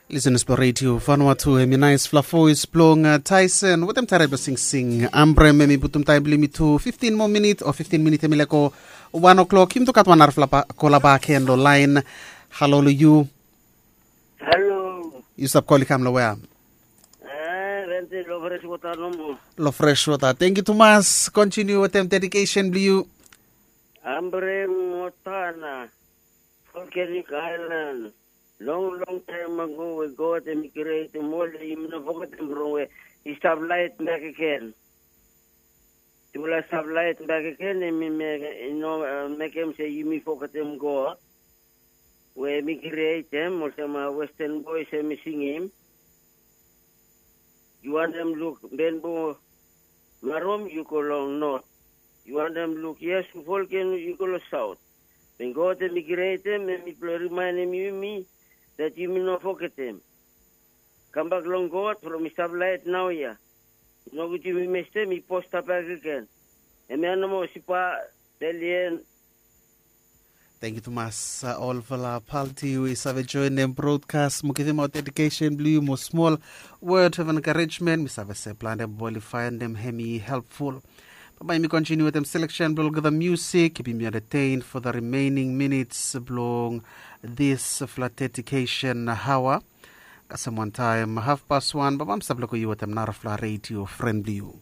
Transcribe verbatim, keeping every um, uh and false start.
Lisenas blong redio Vanuatu, hemi naesfala voes blong Tyson wetem tarai blong singsing Ambrem. Hemi putum taem blong yumi tu fiftin moa minit o fiftin minit hemi lego wan o'klok. Yumi tu gat wan narafala kola bak gen long laen. Halo long yu. Halo. Yu stap kol i kam long wea? Rente long fres wota nomo. Long fres wota. Tengiu tumas. Kontiniu wetem dedikesen blong yu. Ambrem Motana, Volcanic Island. Long long taem ago we God hemi krietem ol, yumi no fogetem from we i stap laet bakegen. Tufala i stap laet bakegen, hemi no mekem se yumi fogetem God we hemi krietem. Olsem Western Boys hemi singim, yu wantem luk benbo marom, yu go long not. Yu wantem luk yesu volcano, yu go long saot. Wen God hemi krietem, hemi blong rimaenem yumi dat yumi no fogetem. Kambak long God from i stap laet naoia. Nogud yumi mestem i pos stap bakegen. Hemia nomo sipa. Belien. Tengiu tumas. Olfala palti we i save joenem brodkas mo givimaot dedikesen blong yu mo smol wod of enkarejmen. Mi save se plante bol i faenem hemi helpful. Bambae yumi kontiniu wetem seleksen blong olgeta musik kipim yu entertain for the remaining minutes blong disfala dedikesen haoa. Kasem wantaem hafpas wan bambae mi stap lego yu wetem narafala redio fren blong yu.